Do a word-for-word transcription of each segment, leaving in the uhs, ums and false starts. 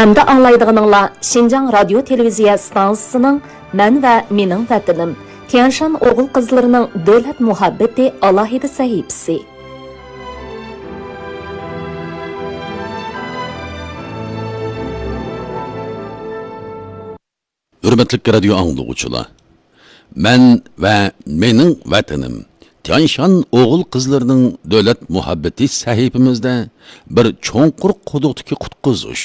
ئەمدى ئاڭلايدىغىنىڭلار شىنجاڭ رادىيو تېلېۋىزىيە ئىستانسىسىنىڭ مەن ۋە مېنىڭ ۋەتىنىم، تيەنشان ئوغۇل قىزلىرىنىڭ دۆلەت مۇھەببىتى ئالاھىدە سەھىپىسى. ھۆرمەتلىك رادىيو ئاڭلىغۇچىلار! مەن ۋە مېنىڭ ۋەتىنىم، تيەنشان ئوغۇل قىزلىرىنىڭ دۆلەت مۇھەببىتى سەھىپىمىزدە بىر چوڭقۇر قۇدۇقتىكى قۇتقۇزۇش،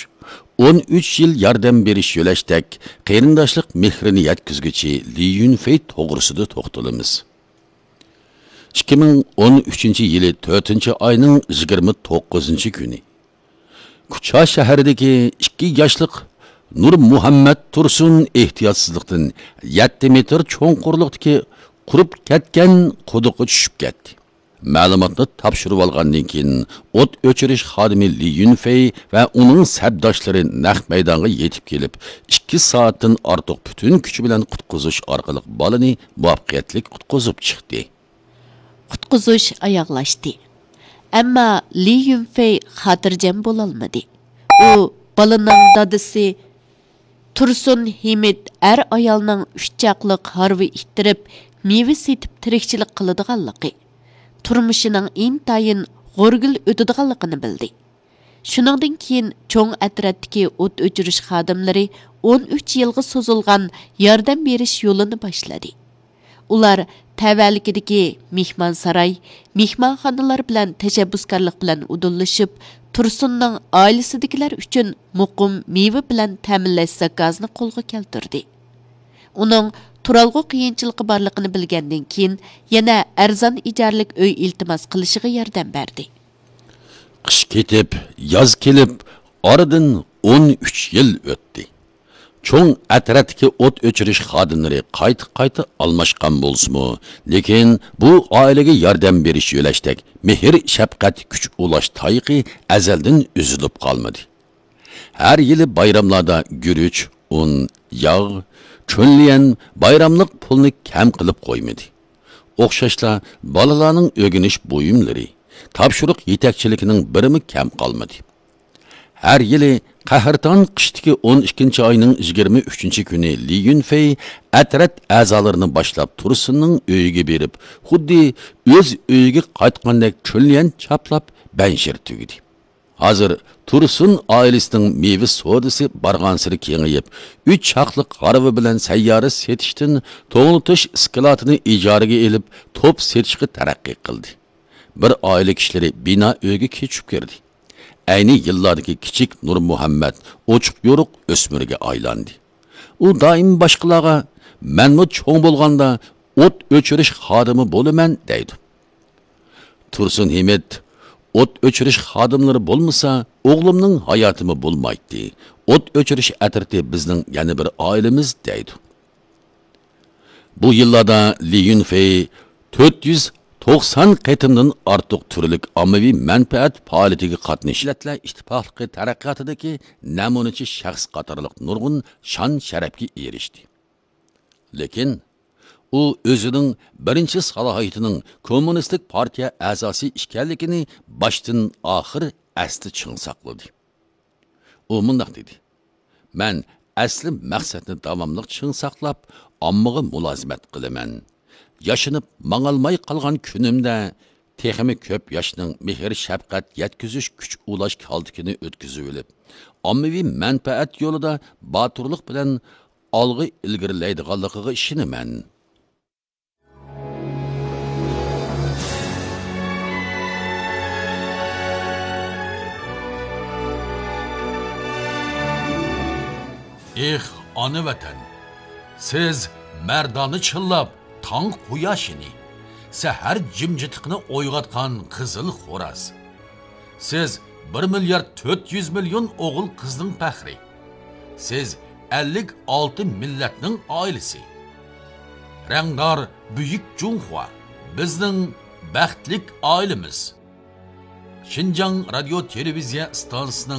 ئون ئۈچ يىل ياردەم بېرىش يۆلەشتەك قېرىنداشلىق مېھرىنى يەتكۈزگۈچى لى يۈنفېي توغرىسىدا توختىلىمىز. ئىككى مىڭ ئون ئۈچىنچى يىلى تۆتىنچى ئاينىڭ يىگىرمە توققۇزىنچى كۈنى، كۇچا شەھىرىدىكى ئىككى ياشلىق نۇرمۇھەممەت تۇرسۇن ئېھتىياتسىزلىقتىن يەتتە مېتىر چوڭقۇرلۇقتىكى قۇرۇپ كەتكەن قۇدۇققا چۈشۈپ كەتتى. مەلۇماتنى تاپشۇرۇۋالغاندىن كېيىن، ئوت ئۆچۈرۈش خادىمى لى يۈنفېي ۋە ئۇنىڭ سەپداشلىرى نەق مەيدانغا يېتىپ كېلىپ، ئىككى سائەتتىن ئارتۇق پۈتۈن كۈچى بىلەن قۇتقۇزۇش ئارقىلىق بالىنى مۇۋەپپەقىيەتلىك قۇتقۇزۇپ چىقتى. قۇتقۇزۇش ئاياغلاشتى. ئەمما لى يۈنفېي خاتىرجەم بولالمىدى. ئۇ بالىنىڭ دادىسى تۇرسۇن ھىمىت ئەر-ئايالنىڭ ئۈچ چاقلىق ھارۋا ئىتتىرىپ، مېۋە سېتىپ تىرىكچىلىك قىلىدىغانلىقى، تۇرمۇشىنىڭ ئىنتايىن غورىگىل ئۆتىدىغانلىقىنى بىلدى. شۇنىڭدىن كېيىن چوڭ ئەترەتتىكى ئوت ئۆچۈرۈش خادىملىرى ئون ئۈچ يىلغا سوزۇلغان ياردەم بېرىش يولىنى باشلىدى. ئۇلار تەۋەلىكىدىكى مېھمانساراي، مېھمانخانىلار بىلەن تەشەببۇسكارلىق بىلەن ئۇدۇللىشىپ، تۇرسۇننىڭ ئائىلىسىدىكىلەر ئۈچۈن مۇقىم مېۋە بىلەن تەمىنلەش زاكازىنى قولغا كەلتۈردى. ئۇنىڭ تۇرالغۇ قىيىنچىلىقى بارلىقىنى بىلگەندىن كېيىن، يەنە ئەرزان ئىجارىلىك ئۆي ئىلتىماس قىلىشىغا ياردەم بەردى. قىش كېتىپ، ياز كېلىپ، ئارىدىن ئون ئۈچ يىل ئۆتتى. چوڭ ئەترەتتىكى ئوت ئۆچۈرۈش خادىملىرى قايتا-قايتا ئالماشقان بولسىمۇ، لېكىن بۇ ئائىلىگە ياردەم بېرىش يۆلەشتەك مېھىر-شەپقەت، كۈچ ئۇلاش تايىقى ئەزەلدىن ئۈزۈلۈپ قالمىدى. ھەر يىلى بايراملاردا گۈرۈچ، ئۇن، ياغ، چۆنليەن، بايراملىق پۇلنى كەم قىلىپ قويمىدى. ئوخشاشلا بالىلارنىڭ ئۆگىنىش بۇيۇملىرى، تاپشۇرۇق يېتەكچىلىكىنىڭ بىرىمۇ كەم قالمىدى. ھەر يىلى قەھرىتان قىشتىكى ئون ئىككىنچى ئاينىڭ يىگىرمە ئۈچىنچى كۈنى لى يۈنفېي ئەترەت ئەزالىرىنى باشلاپ تۇرسۇننىڭ ئۆيىگە بېرىپ، خۇددى ئۆز ئۆيىگە قايتقاندەك چۆنليەن چاپلاپ بەنشىر تۈگىدى. ھازىر تۇرسۇن ئائىلىسىنىڭ مېۋە سودىسى بارغانسېرى كېڭىيىپ، ئۈچ چاقلىق ھارۋا بىلەن سەييارە سېتىشتىن توڭلىتىش ئىسكىلاتىنى ئىجارىگە ئېلىپ، توپ سېتىشقا تەرەققىي قىلدى. بىر ئائىلە كىشىلىرى بىنا ئۆيگە كۆچۈپ كىردى. ئەينى يىللاردىكى كىچىك نۇرمۇھەممەت ئوچۇق-يورۇق ئۆسمۈرگە ئايلاندى. ئۇ دائىم باشقىلارغا، «مەنمۇ چوڭ بولغاندا ئوت ئۆچۈرۈش خادىمى بولىمەن» دەيدۇ. تۇرسۇن ھىمىت، «ئوت ئۆچۈرۈش خادىملىرى بولمىسا، ئوغلۇمنىڭ ھاياتىمۇ بولمايتتى. ئوت ئۆچۈرۈش ئەترىتى بىزنىڭ يەنە بىر ئائىلىمىز» دەيدۇ. بۇ يىللاردا لى يۈنفېي تۆت يۈز توقسان قېتىمدىن ئارتۇق تۈرلۈك ئاممىۋى مەنپەئەت پائالىيىتىگە قاتنىشىپ، مىللەتلەر ئىتتىپاقلىقى تەرەققىياتىدىكى نەمۇنىچى شەخس قاتارلىق نۇرغۇن شان-شەرەپكە ئېرىشتى. لېكىن ئۇ ئۆزىنىڭ بىرىنچى سالاھىيىتىنىڭ كوممۇنىستىك پارتىيە ئەزاسى ئىكەنلىكىنى باشتىن ئاخىر ئەستە چىڭ ساقلىدى. ئۇ مۇنداق دېدى: «مەن ئەسلى مەقسەتنى داۋاملىق چىڭ ساقلاپ، ئاممىغا مۇلازىمەت قىلىمەن. ياشىنىپ ماڭالماي قالغان كۈنۈمدە تېخىمۇ كۆپ ياشنىڭ مېھىر-شەپقەت يەتكۈزۈش، كۈچ ئۇلاش كالتىكىنى ئۆتكۈزۈۋېلىپ، ئاممىۋى مەنپەئەت يولىدا باتۇرلۇق بىلەن ئالغا ئىلگىرىلەيدىغانلىقىغا ئىشىنىمەن.» ئېھ، ئانا ۋەتەن! سىز مەردانە چىللاپ تاڭ قۇياشىنى، سەھەر جىمجىتلىقىنى ئويغاتقان قىزىل خوراز. سىز بىر مىليارد تۆت يۈز مىليون ئوغۇل قىزنىڭ پەخرى. سىز ئەللىك ئالتە مىللەتنىڭ ئائىلىسى. رەڭدار بۈيۈك جۇڭخۇا، بىزنىڭ بەختلىك ئائىلىمىز. شىنجاڭ رادىيو تېلېۋىزىيە ئىستانسىسىنىڭ